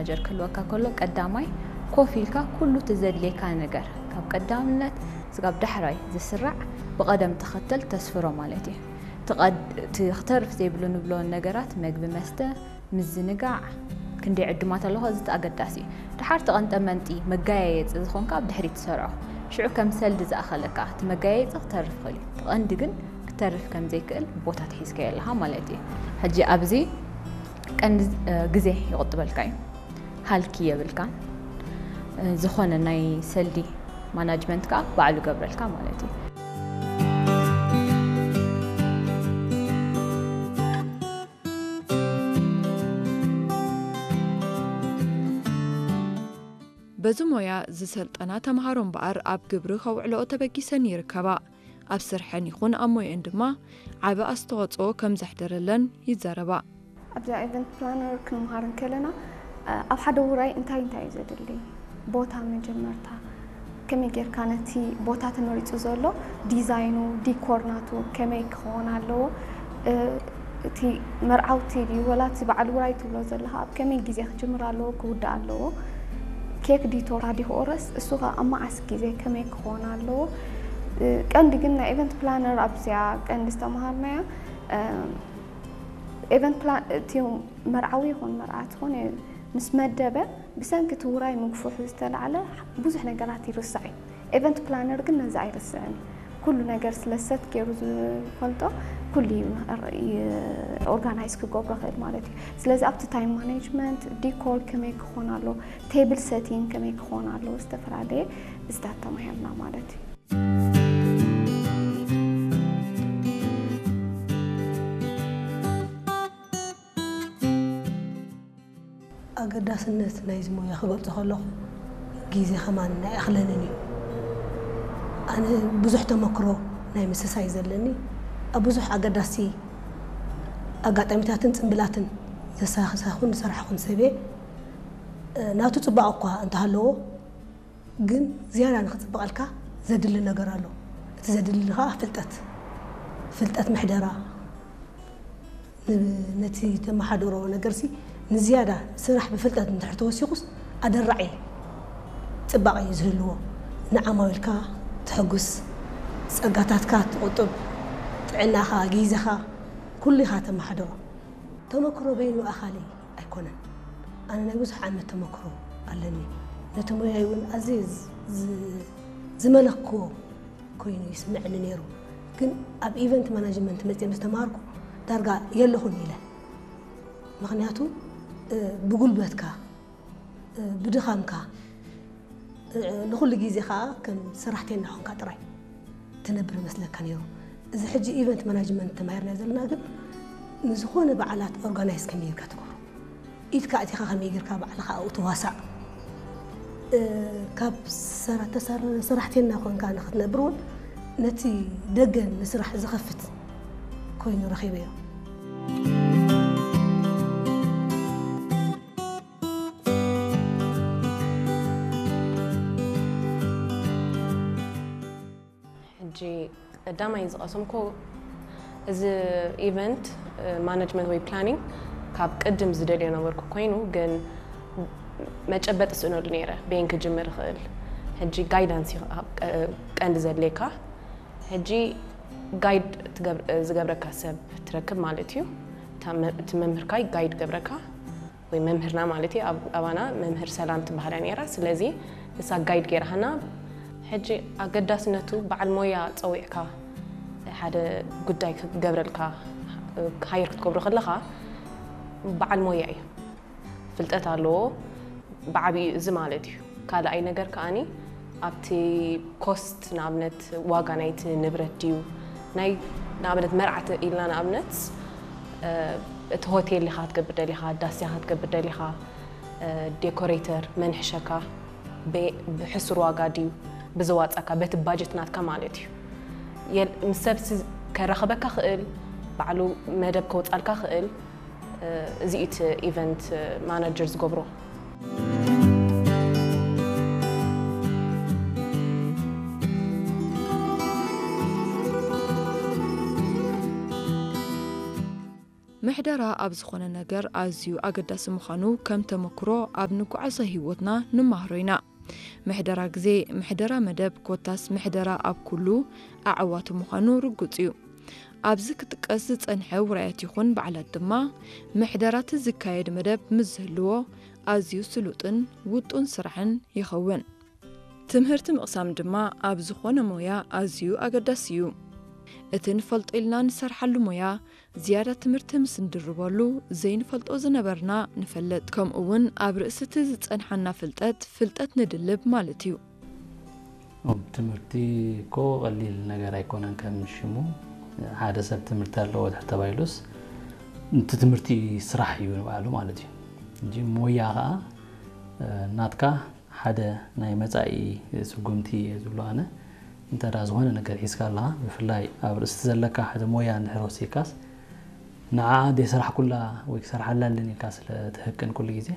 ጀር ክህልወካ ከሎ ቀዳማይ ኮፍ ኢልካ ኩሉ እቲ ዘድልየካ ነገር ካብ ቀዳምነት ስጋብ ዳሕራይ ዝስራዕ ብቐደም ተኸተል ተስፍሮ ማለት እዩ። እቲ ክተርፍ ዘይብሉ ንብሎ ነገራት መግቢ መስተ፣ ምዝንጋዕ፣ ክንደይ ዕዱማት ኣለኹ፣ እዚ ኣገዳሲ እዩ። ድሓር ተቐንጠ መንጢ መጋየየፂ ዝኾንካ ኣብ ድሕሪት ትሰርዖ። ሽዑ ከም ሰልዲ ዝኣኸለካ እቲ መጋየየፂ ክተርፍ ይኽእል እዩ። እቲ ቀንዲ ግን ክተርፍ ከም ዘይክእል ቦታ ትሒዝካዮ ኣለኻ ማለት እዩ። ሕጂ ኣብዚ ቀንዲ ግዜ ይቑጥበልካ እዩ። ሃልኪ የብልካን። ዝኾነ ናይ ሰልዲ ማናጅመንት ከዓ ባዕሉ ገብረልካ ማለት እዩ። በዚ ሞያ ዝሰልጠና ተምሃሮ እምበኣር ኣብ ግብሪ ከውዕልኦ ተበጊሰን ይርከባ። ኣብ ስርሐን ይኹን ኣብ ሞየን ድማ ዓቢ ኣስተዋጽኦ ከም ዘሕደረለን ይዛረባ። ኣብዛ event planner ክንምሃር እንከለና ኣብ ሓደ ውራይ እንታይ እንታይ እዩ ዘድሊ፣ ቦታ መጀመርታ ከመይ ጌርካ ነቲ ቦታ ተመሪጹ ዘሎ ዲዛይኑ፣ ዲኮር ናቱ ከመይ ክኸውን ኣለዎ፣ እቲ መርዓውቲ ድዩ ወላ እቲ በዓል ውራይ ትብሎ ዘለኻ ኣብ ከመይ ግዜ ክጅምር ኣለዎ ክውዳእ ኣለዎ፣ ኬክ ዲዩ ቶርታ ዲዩ ክቑረስ እሱ ኸ ኣብ መዓስ ግዜ ከመይ ክኾን ኣለዎ። ቀንዲ ግን ናይ event planner ኣብዚኣ ቀንዲ ዝተምሃርናያ event plan እቲ መርዓዊ ይኹን መርዓት ዝኾነ ምስ መደበ ብሰንኪ እቲ ውራይ ምግፍሑ ዝተላዕለ ብዙሕ ነገራት ይርሳዕ እዩ። event planner ግን ነዚ ኣይርስዕን። ኩሉ ነገር ስለ set ገይሩ ዝፈልጦ ኩሉ እዩ organise ክገብሮ ይኽእል ማለት እዩ። ስለዚ ኣብቲ time management፣ ዲኮር ከመይ ክኾን ኣለዎ፣ table setting ከመይ ክኾን ኣለዎ ዝተፈላለየ እዚታት ተማሂርና ማለት እዩ። ኣገዳስነት ናይዚ ሞያ ክገልጾ ከለኹ ግዜ ከማን ኣይኣኽለንን እዩ። ኣነ ብዙሕ ተመክሮ ናይ ምስሳይ እዩ ዘለኒ። ኣብ ብዙሕ ኣገዳሲ ኣጋጣሚታትን ጽምብላትን ዘሳኽሳኹን ዝሰራሕኹን ሰብ እየ። ናቱ ጽባቐ እኳ እንተሃለዎ ግን ዝያዳ ንኽጽብቐልካ ዘድሊ ነገር ኣሎ። እቲ ዘድሊ ኸዓ ፍልጠት፣ ፍልጠት ምሕደራ፣ ነቲ ተመሓደሮ ነገርሲ ንዝያዳ ስራሕ ብፍልጠት እንድሕር ተወሲኹስ ኣደራዒ ጽባቐ እዩ ዝህልዎ። ንዓማዊልካ ተሐጉስ፣ ጸጋታትካ ትቑጥብ፣ ጥዕናኻ፣ ግዜኻ ኩሉ ኢኻ ተመሓድሮ። ተመክሮ በይኑ ኣኻሊ ኣይኮነን። ኣነ ናይ ብዙሕ ዓመት ተመክሮ ኣለኒ። ነቲ ሞያይ እውን ኣዝየ ዝመለክዎ ኮይኑ ይስምዐኒ ነይሩ። ግን ኣብ event management መፅየ ምስ ተማሃርኩ ዳርጋ የለኹን ኢለ። ምኽንያቱ ብጉልበትካ፣ ብድኻምካ፣ ንኹሉ ግዜ ከዓ ከም ሰራሕተኛ ኾንካ ጥራይ ትነብር ይመስለካ ነይሩ። እዚ ሕጂ event management ተማሂርና ዘለና ግን ንዝኾነ በዓላት organise ከመይ ጌርካ ትገብሮ፣ ኢድካ ኣእቲኻ ከመይ ጌርካ ባዕልኻ ኣብኡ ትዋሳእ፣ ካብ ሰራሕተኛ ኮንካ ንኽትነብር እውን ነቲ ደገ ንስራሕ ዝኸፍት ኮይኑ ረኺበዮ። ሕጂ ቀዳማይ ዝቐሰምኩ እዚ event management ወይ planning ካብ ቅድም ዝደልዮ ነበርኩ ኮይኑ ግን መጨበጢ ስእነሉ ነይረ በይን ክጅምር ይኽእል። ሕጂ guidance ቀንዲ ዘድልየካ። ሕጂ guide ዝገብረካ ሰብ ትረክብ ማለት እዩ። እቲ መምህርካይ guide ገብረካ ወይ መምህርና ማለት እዩ ኣባና መምህር ሰላም ትበሃላ ነይራ። ስለዚ ንሳ guide ገይራሃና። ሕጂ ኣገዳስነቱ በዓል ሞያ ፀዊዕካ ሓደ ጉዳይ ክገብረልካ hire ክትገብሮ ከለኻ በዓል ሞያ እዩ፣ ፍልጠት ኣለዎ ብዓብዩ እዚ ማለት እዩ። ካልኣይ ነገር ከኣኒ ኣብቲ cost ንኣብነት ዋጋ ናይቲ ንብረት ድዩ ናይ ንኣብነት መርዓቲ ኢልና ንኣብነት እቲ ሆቴል ኢኻ ክትገብር ደሊኻ፣ ዳስ ኢኻ ክትገብር ደሊኻ፣ decorator መን ይሕሸካ፣ ብሕሱር ዋጋ ድዩ ብዝዋፃካ በቲ budget ናትካ ማለት እዩ። ምስ ሰብ ከራኽበካ ክእል ባዕሉ መደብ ከውፃልካ ክእል። እዚ እቲ event manager ዝገብሮ። ምሕደራ ኣብ ዝኾነ ነገር ኣዝዩ ኣገዳሲ ምዃኑ ከም ተመክሮ ኣብ ንጓዓዞ ህይወትና ንማህሮ ኢና። ምሕደራ ግዜ፣ ምሕደራ መደብ፣ ኮታስ ምሕደራ ኣብ ኩሉ ኣዕዋቱ ምዃኑ ርጉጽ እዩ። ኣብዚ ክጥቀስ ዝጸንሐ ውራያት ይኹን በዓላት ድማ፣ ምሕደራት ዝካየድ መደብ ምስ ዝህልዎ ኣዝዩ ስሉጥን ውጡን ስራሕን ይኸውን። ትምህርቲ ምቕሳም ድማ ኣብ ዝኾነ ሞያ ኣዝዩ ኣገዳሲ እዩ። እቲ ንፈልጦ ኢልና ንሰርሓሉ ሞያ ዝያዳ ትምህርቲ ምስ ንድርበሉ፣ ዘይንፈልጦ ዝነበርና ንፈልጥ። ከምኡ እውን ኣብ ርእሲ እቲ ዝጸንሓና ፍልጠት፣ ፍልጠት ንድልብ ማለት እዩ። እም፣ ትምህርቲ እኮ ቀሊል ነገር ኣይኮነን። ከም ሽሙ ሓደ ሰብ ትምህርቲ ኣለዎ ድሕር ተባሂሉስ፣ እቲ ትምህርቲ ስራሕ እዩ ንባዕሉ ማለት እዩ። እንጂ ሞያ ኸዓ፣ እ፣ ናትካ ሓደ ናይ መጻኢ ስጉምቲ እየ ዝብሎ ኣነ። እንተ ደኣ ዝኾነ ነገር ሒዝካ ኣለኻ፣ ብፍላይ ኣብ ርእሲ ዘለካ ሓደ ሞያ እንድሕር ወሲድካስ፣ ንዓ ዘይሰራሕኩላ ወይ ክሰርሓላ ኣለኒ ኢልካ ስለ ትህቅን ኩሉ ግዜ፣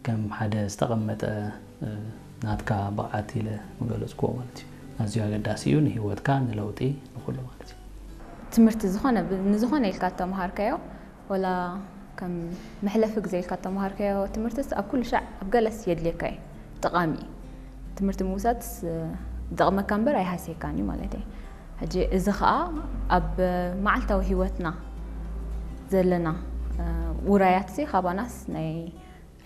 ከም ሓደ ዝተቐመጠ፣ እ፣ ናትካ ብቕዓት ኢለ ምገለጽክዎ ማለት እዩ። ኣዝዩ ኣገዳሲ እዩ ንህይወትካ፣ ንለውጢ፣ ንኹሉ ማለት እዩ። ትምህርቲ ዝኾነ ብ-፣ ንዝኾነ ኢልካ እተምሃርካዮ፣ ወላ ከም መሕለፊ ግዜ ኢልካ እተምሃርካዮ ትምህርትስ ኣብ ኩሉ ሻዕ ኣብ ገለስ የድልየካ እዩ፣ ጠቓሚ እዩ። ትምህርቲ ምውሳድስ፣ እ፣ ይጠቕመካ እምበር ኣይሃስየካን እዩ ማለት እዩ። ሕጂ እዚ ኸኣ ኣብ መዓልታዊ ህይወትና ዘለና፣ እ፣ ውራያትሲ ካባናስ ናይ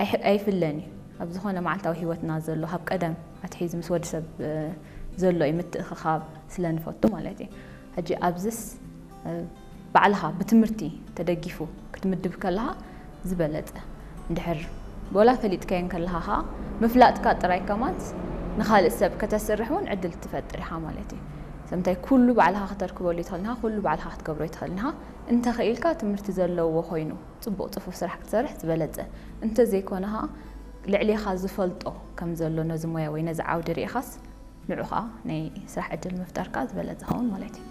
ኣይሕ-፣ ኣይፍለን እዩ። ኣብ ዝኾነ መዓልታዊ ህይወትና ዘሎ፣ ካብ ቀደም ኣትሒዙ ምስ ወዲ ሰብ፣ እ፣ ዘሎ እዩ፣ ምትእኽኻብ ስለ ንፈቱ ማለት እዩ። ሕጂ ኣብዝስ፣ እ፣ ባዕልኻ ብትምህርቲ ተደጊፉ ክትምድብ ከለኻ ዝበለጸ። እንድሕር ወላ ፈሊጥካዮ እንከለኻ ኸኣ፣ ምፍላጥካ ጥራይ ከማንስ ንኻልእ ሰብ ከተስርሕ እውን ዕድል ትፈጥር ኢኻ ማለት እዩ። ሰምታይ ኩሉ ባዕልኻ ከተርክበሉ ኣይትኽእልን ኢኻ፣ ኩሉ ባዕልኻ ክትገብሮ ኣይትኽእልን ኢኻ። እንተኽኢልካ ትምህርቲ ዘለዎ ኮይኑ ጽቡቕ ጽፉፍ ስራሕ ክትሰርሕ ዝበለጸ። እንተዘይኮነ ኸኣ ልዕሌኻ ዝፈልጦ ከም ዘሎ ነዚ ሞያ ወይ ነዚ ዓውዲ ርኢኻስ ንዑ ኸኣ ናይ ስራሕ ዕድል ምፍጣር ከኣ ዝበለጸ ኸውን ማለት እዩ።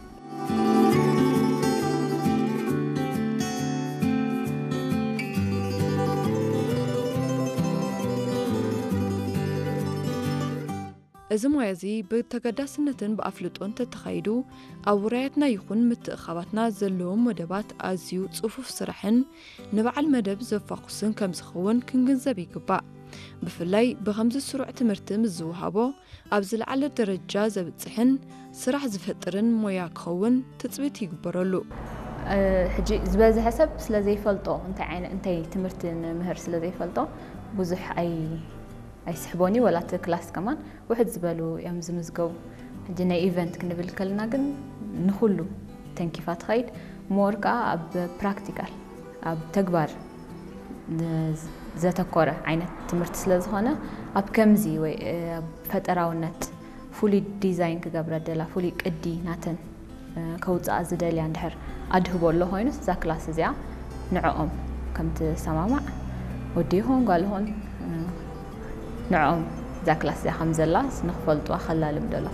እዚ ሞያ እዚ ብተገዳስነትን ብኣፍልጦን ተተኻይዱ፣ ኣብ ውራያትና ይኹን ምትእኻባትና ዘለዎም መደባት ኣዝዩ ጽፉፍ ስራሕን ንበዓል መደብ ዘፋኹስን ከም ዝኸውን ክንግንዘብ ይግባእ። ብፍላይ ብኸምዚ ስሩዕ ትምህርቲ ምስ ዝወሃቦ፣ ኣብ ዝለዓለ ደረጃ ዘብጽሕን ስራሕ ዝፈጥርን ሞያ ክኸውን ትጽቢት ይግበረሉ። እ፣ ሕጂ ዝበዝሐ ሰብ ስለ ዘይፈልጦ፣ እንታይ ዓይነ-፣ እንታይ ትምህርቲ ንምህር ስለ ዘይፈልጦ፣ ብዙሕ ኣይ-፣ ኣይስሕቦን እዩ፣ ወላ እቲ ክላስ ከማን ውሕድ ዝበሉ እዮም ዝምዝገቡ። ሕጂ ናይ ኢቨንት ክንብል ከለና ግን ንኹሉ ተንኪፋ ትኸይድ። ሞር ከኣ ኣብ ፕራክቲካል፣ ኣብ ተግባር ን-፣ ዘተኮረ ዓይነት ትምህርቲ ስለ ዝኾነ፣ ኣብ ከምዚ ወይ፣ እ፣ ኣብ ፈጠራውነት ፍሉይ ዲዛይን ክገብረ ደላ፣ ፍሉይ ቅዲ ናተን እ፣ ከውፅኣ ዝደልያ እንድሕር ኣድህቦ ኣሎ ኮይኑስ፣ እዛ ክላስ እዚኣ ንዕኦም ከም ትሰማማዕ፣ ወዲ ይኹን ጓል ይኹን፣ እ፣ ንዕኦም እዛ ክላስ እዚኣ ከም ዘላ ንክፈልጥዋ ከላልም ደሎ።